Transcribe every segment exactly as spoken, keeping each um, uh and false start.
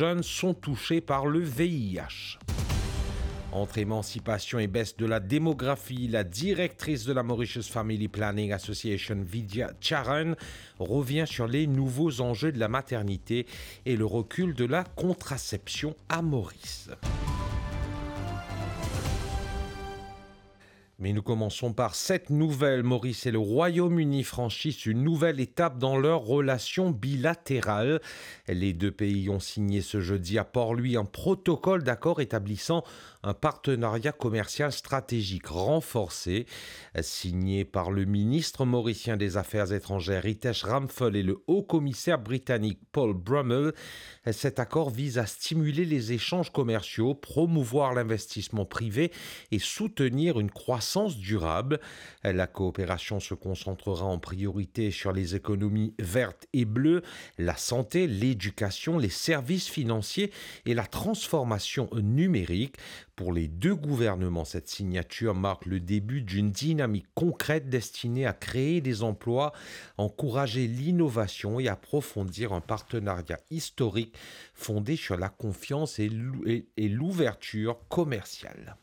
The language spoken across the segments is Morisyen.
jeunes sont touchés par le V I H. Entre émancipation et baisse de la démographie, la directrice de la Mauritius Family Planning Association, Vidya Charan, revient sur les nouveaux enjeux de la maternité et le recul de la contraception à Maurice. Mais nous commençons par cette nouvelle. Maurice et le Royaume-Uni franchissent une nouvelle étape dans leur relation bilatérale. Les deux pays ont signé ce jeudi à Port-Louis un protocole d'accord établissant un partenariat commercial stratégique renforcé. Signé par le ministre mauricien des Affaires étrangères Ritesh Ramphal et le haut commissaire britannique Paul Brummell, cet accord vise à stimuler les échanges commerciaux, promouvoir l'investissement privé et soutenir une croissance durable. La coopération se concentrera en priorité sur les économies vertes et bleues, la santé, l'éducation, les services financiers et la transformation numérique. Pour les deux gouvernements, cette signature marque le début d'une dynamique concrète destinée à créer des emplois, encourager l'innovation et approfondir un partenariat historique fondé sur la confiance et l'ou-, et, et l'ouverture commerciale.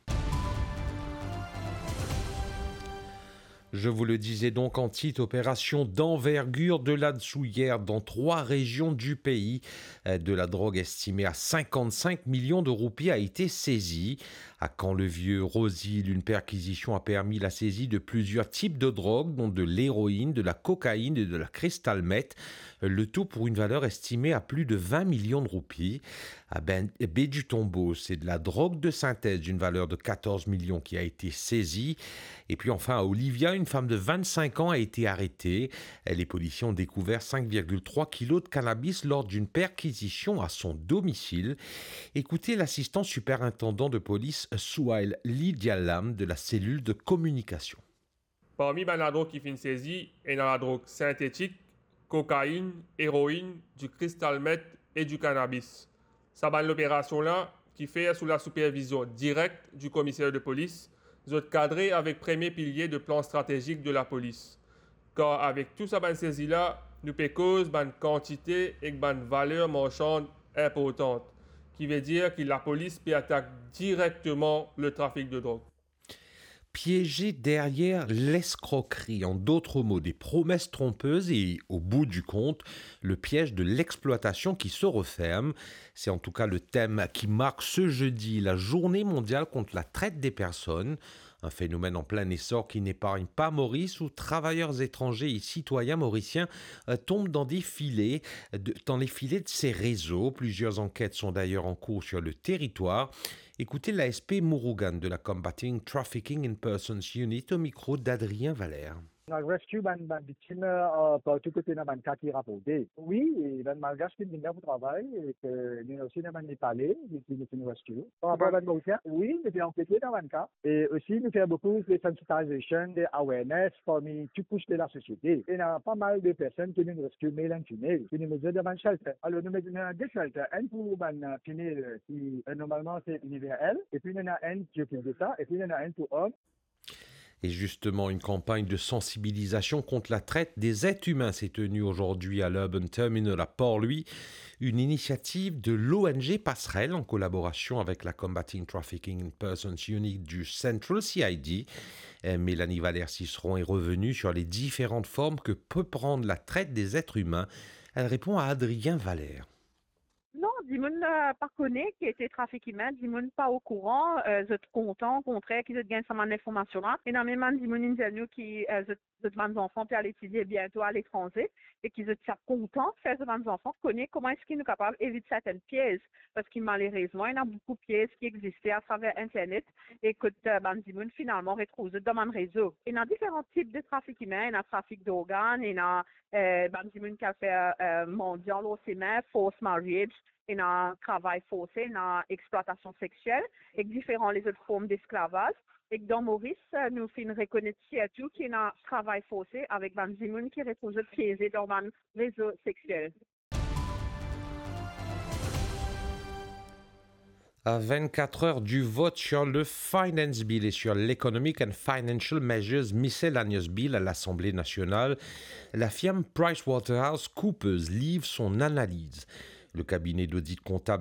Je vous le disais donc en titre, opération d'envergure de la Dessoulière dans trois régions du pays. Euh, de la drogue estimée à cinquante-cinq millions de roupies a été saisie. À Camp-le-Vieux, Rosil, une perquisition a permis la saisie de plusieurs types de drogues, dont de l'héroïne, de la cocaïne et de la cristal meth. Le tout pour une valeur estimée à plus de vingt millions de roupies. À Ben-, Baie du Tombeau, c'est de la drogue de synthèse d'une valeur de quatorze millions qui a été saisie. Et puis enfin, à Olivia, une femme de vingt-cinq ans a été arrêtée. Les policiers ont découvert cinq virgule trois kilos de cannabis lors d'une perquisition à son domicile. Écoutez l'assistant superintendant de police, Souhail Lidialam, de la cellule de communication. Parmi bann ladrog ki finn sezi, ena ladrog sintetik, kokainn, eroinn, di kristal meth e di kanabis. Sa bann loperasion la, ki fer sou lasipervizion direk di komiser de polis, zot kadre avek premie pilie de plan stratezik de lapolis. Kar avek tou sa bann sezi la, nou pe koz bann kantite ek bann valer marsann inportan, ki vedir ki lapolis pe atak direkteman le trafik de drog. Piégé derrière l'escroquerie, en d'autres mots, des promesses trompeuses et, au bout du compte, le piège de l'exploitation qui se referme. C'est en tout cas le thème qui marque ce jeudi la journée mondiale contre la traite des personnes, un phénomène en plein essor qui n'épargne pas Maurice, où travailleurs étrangers et citoyens mauriciens, euh, tombent dans des filets, de, dans les filets de ces réseaux. Plusieurs enquêtes sont d'ailleurs en cours sur le territoire. Écoutez l'A S P Murugan de la Combating Trafficking in Persons Unit au micro d'Adrien Valère. Nou al rescue bann, bann viktim, euh, partou kote ena bann ka ki raporte. Wi, e bann Malgash ki vinn la pou travay, e ke nou osi ena bann Nepale, ki nou finn rescue. Par rapor bann Morisien, wi, nou pe ankete dan bann ka. E osi nou fer boukou de sensitization, de awareness parmi tou kous de lasosiete. Ena pa mal de personn ki nou rescue, male and female, ki nou met dan bann shelter. Alor nou met dan de shelter, enn pou bann, euh, female, euh, ki, euh, normalman se Univers L, epi nou ena enn ki okip de sa, epi nou ena enn pou om. Et justement, une campagne de sensibilisation contre la traite des êtres humains s'est tenue aujourd'hui à l'Urban Terminal à Port-Louis, une initiative de l'O N G Passerelle en collaboration avec la Combating Trafficking in Persons Unit du Central C I D. Euh, Mélanie Valère-Ciceron est revenue sur les différentes formes que peut prendre la traite des êtres humains. Elle répond à Adrien Valère. Non, dimoun, euh, pa kone ki ete trafik imin, dimoun pa okouran, euh, zot kontan, okontrer, ki zot gagn sa bann linformasion la. Ena mem bann dimoun inn dir nou ki, euh, zot, zot bann zanfan pe al etidiye biento aletranze e ki zot ti a kontan fer zot bann zanfan kone kouma eski nou kapav evit sertenn piez, parski malerezman, ena boukou piez ki existe atraver internet e kot, euh, bann dimoun finalman retrouv zot dan bann rezo. Ena diferan tip de trafik imin, ena trafik dorgan, ena eh, bann dimoun ki al fer, eh, mandian lor semin, forced marriage, ena travay forse, ena explwatasion sexiel, ek diferan lezot form desklavaz. Ek dan Moris, eh, nou finn rekonet sirtou ki ena travay forse avek bann dimoun ki retrouv zot pieze dan bann rezo sexiel. À vingt-quatre heures du vote sur le Finance Bill et sur l'Economic and Financial Measures Miscellaneous Bill à l'Assemblée nationale, la firme PricewaterhouseCoopers livre son analyse. Le cabinet d'audit comptable